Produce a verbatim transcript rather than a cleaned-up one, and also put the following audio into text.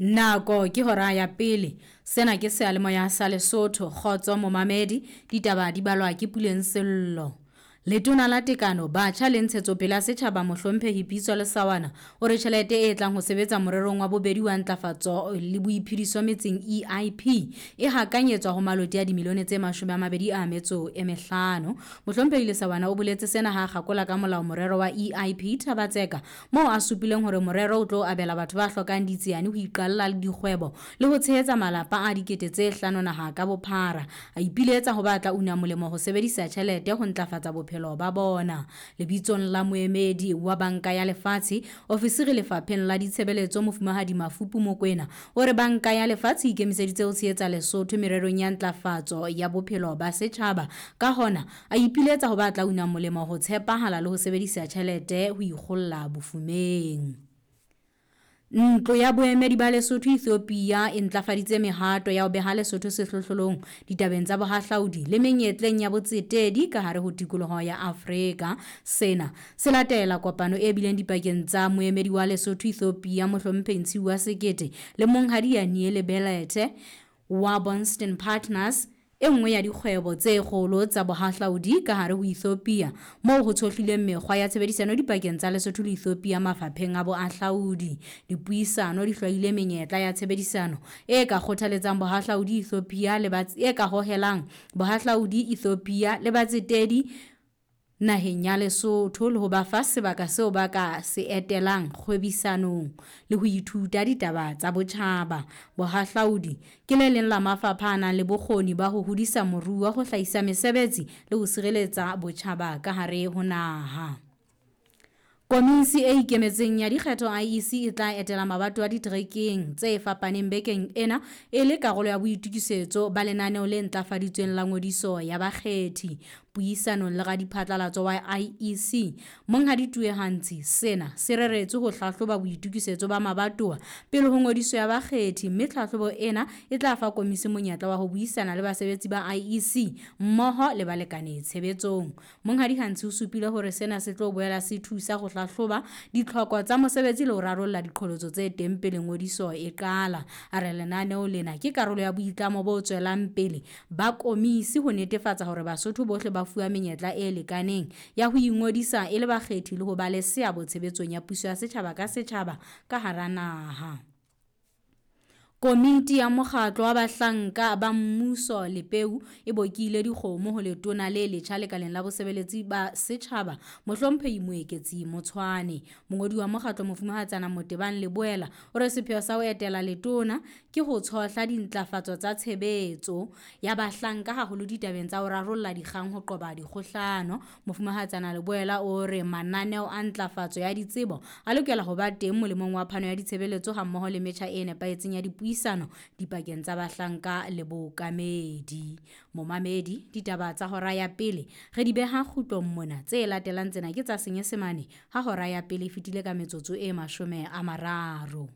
Nako ke hora ya pele. Sena ke seyalemoya sa Lesotho. Kgotso momamedi, ditaba di balwa ke Puleng Sello. Letona la Tekano, Batjha le Ntshetsopele ya Setjhaba Mohlomphehi Pitso Lesawana o re tjhelete e tlang ho sebetsa morerong wa bobedi wa ntlafatso le boiphediso metseng E I P e hakanyetswa ho maloti a dimilione tse mashome a mabedi a metso e mehlano. Mohlomphehi Lesawana o boletse sena ha a kgakola ka molao morero wa E I P Thabatseka, moo a supileng hore morero o tlo abela batho ba hlokang ditsiane ho iqalla le dikgwebo le ho tshehetsa malapa a dikete tse hlano naha ka bophara. A ipiletsa ho ba tla una molemo ho sebedisa tjhelete ho ntlafatsa bophelo ba bona. Lebitsong la moemedi wa Banka ya Lefatshe, ofisiri lefapheng la ditshebeletso Mofumahadi Mafupu Mokwena o re Banka ya Lefatshe e ikemiseditse ho tshehetsa Lesotho mererong ya ntlafatso ya bophelo ba setjhaba. Ka hona, a ipiletsa ho ba tla una molemo ho tshepahala le ho sebedisa tjhelete ho ikgolla bofumeng. Ntlo ya boemedi ba Lesotho Ethiopia e ntlafaditse mehato ya ho beha Lesotho sehlohlolong ditabeng tsa bohahlaudi le menyetleng ya botsetedi ka hare ho tikoloho ya Afrika. Sena se latela kopano e bileng dipakeng tsa moemedi wa Lesotho Ethiopia Mohlomphehi Ntshiuwa Sekete le Monghadi Yaniele Belete wa Bonston Partners, e nngwe ya dikgwebo tse kgolo tsa bohahlaudi ka hare ho Ethiopia, moo ho tshohlileng mekgwa ya tshebedisano dipakeng tsa Lesotho le Ethiopia mafapheng a boahlaudi. Dipuisano di hlwaile menyetla ya tshebedisano e ka kgothaletsang bohahlaudi Ethiopia le ba, e ka hohelang bohahlaudi Ethiopia le batsetedi naheng ya Lesotho le ho ba fa sebaka seo ba ka se etelang kgwebisanong le ho ithuta ditaba tsa botjhaba. Bohahlaudi ke le leng la mafapha a nang le bokgoni ba ho hodisa moruo, ho hlahisa mesebetsi le ho sireletsa botjhaba ka hare ho naha. Komisi e ikemetseng ya dikgetho I E C e tla etela mabato a diterekeng tse fapaneng bekeng ena e le karolo ya boitokisetso ba lenaneo le ntlafaditsweng la ngodiso ya bakgethi. Puisanong le radiphatlalatso wa I E C, Monghadi Tuehantsi, sena se reretswe ho hlahloba boitokisetso ba mabatowa pele ho ngodiso ya bakgethi, mme tlhahlobo ena e tla fa komisi monyetla wa ho buisana le basebetsi ba I E C mmoho le balekane tshebetsong. Monghadi Hantsi o supile hore sena se tlo boela se thusa ho hlahloba ditlhoko tsa mosebetsi le ho rarolla diqholotso tse teng pele ngodiso e qala. A re lenaneo lena ke karolo ya boitlamo bo tswelang pele ba komisi ho netefatsa hore Basotho bohle ba fuwa menyetla e lekaneng ya ho ingodisa e le bakgethi le ho ba le seabo tshebetsong ya puso ya setjhaba ka setjhaba ka hara naha. Komiti ya mokgatlo wa bahlanka ba mmuso Lepeu e bokile dikgomo ho letona le letjha lekaleng la bosebeletsi ba setjhaba Mohlomphehi Moeketsi Motshwane. Mongodi wa mokgatlo Mofumahatsana Motebang Leboela o re sepheo sa ho etela letona ke ho tshohla dintlafatso tsa tshebetso ya bahlanka haholo ditabeng tsa ho rarolla dikgang ho qoba dikgohlano. Mofumahatsana Leboela o re mananeo a ntlafatso ya ditsebo a lokela ho ba teng molemong wa phano ya ditshebeletso hammoho le metjha e nepahetseng ya dipuisano dipakeng tsa bahlanka le bookamedi. Momamedi, ditaba tsa hora ya pele re di beha kgutlong mona. Tse latelang tsena ke tsa Senyesemane ha hora ya pele e fetile ka metsotso e mashome a mararo.